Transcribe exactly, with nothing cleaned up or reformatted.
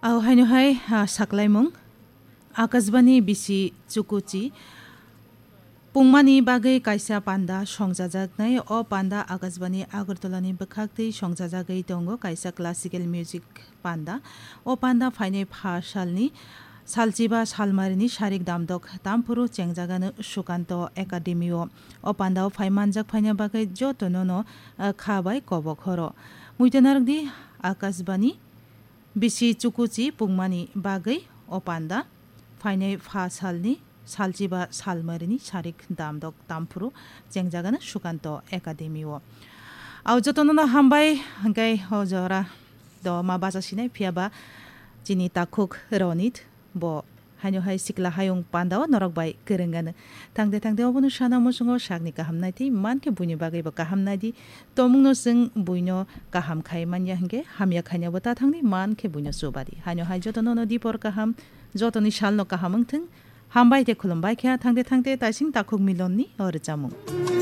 Au haino hai, ah, saklaimung. Akashbani bisi chukuchi pungmani bagwi kaisa panda songjajaknai. O panda Akashbani Agartala ni bwkhak twi songjajagwi tongo, kaisa classical music panda. O panda phainai pha salni salchiba salmarini sarik damdok tamphuru chengjagano Sukanto Academy o. O panda o phai manjak phaina bagwi jotono no, ah, kha bai kobok horo. Muitanarok di Akashbani bisi chukuchi pungmani bagwi o panda phainai pha salni salchiba salmarini sarik damdok tamphuru chengjagano Sukanto Academy o. Au jotono no hambai, hingkai o jora do ma bacha sinai phiya ba chini takhuk Ronit bo haino hai sikla hayung panda o norok bai kwrwng gano. Thangde thangde obono sana muchungo sakni kaham nai tei man khe buini bagwi bo kaham nai di. Tomungno chwng buino kaham khai manya hingke hamya khainabo ta thangni man khe buino chubadi. Haino hai jotono no dipor kaham, jotoni salno kaham wngthwng. Hambai tei khulumbai khe thangde thangde taising takhuk milonni o rwchapmung.